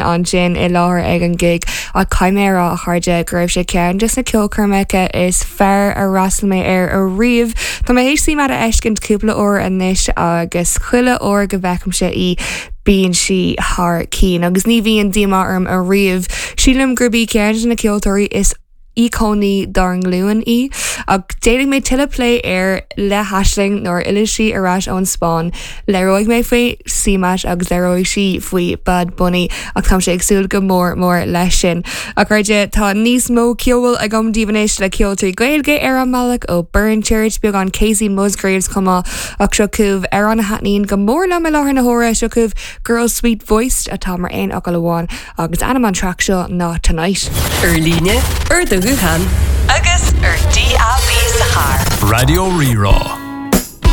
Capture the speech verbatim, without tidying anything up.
Ansin i láthair ag an gig ach caithfidh mé a rá a chairde go raibh sé ceann de na ceolchoirmeacha is fearr ar fhreastail mé air ariamh. Tá mé théis CMAT a fheiscint cúpla uair anois agus chuile uair go bhfeicimse í bíonn sí thar cinn agus ní bhíonn díomá orm ariamh. Sílim gurb í ceann de na ceoltóirí is íocónaí dár nglúin í ach déanfaidh mé tuilleadh plé air le hAisling nuair a fhillfidh sí ar ais ón Spáinn. Labhróidh mé faoi CMAT agus labhróidh sí faoi Bad Bunny ach tá sé ag súil go mór mór leis sin. A chairde tá níos mó ceoil agam daoibh anois le ceol trí Ghaeilge ar an mbealach ó Burren Church beagán Kacey Musgraves chomh maith ach seo chugaibh amhrán a thaitníonn go mór liom i láthair na huaire seo chugaibh Girl Sweet Voice atá mar aon fhocal amháin agus ainm an traic seo ná Tonight. Ar líne ar do ghuthán agus ar DAB sa charr. Raidió Rí-Rá.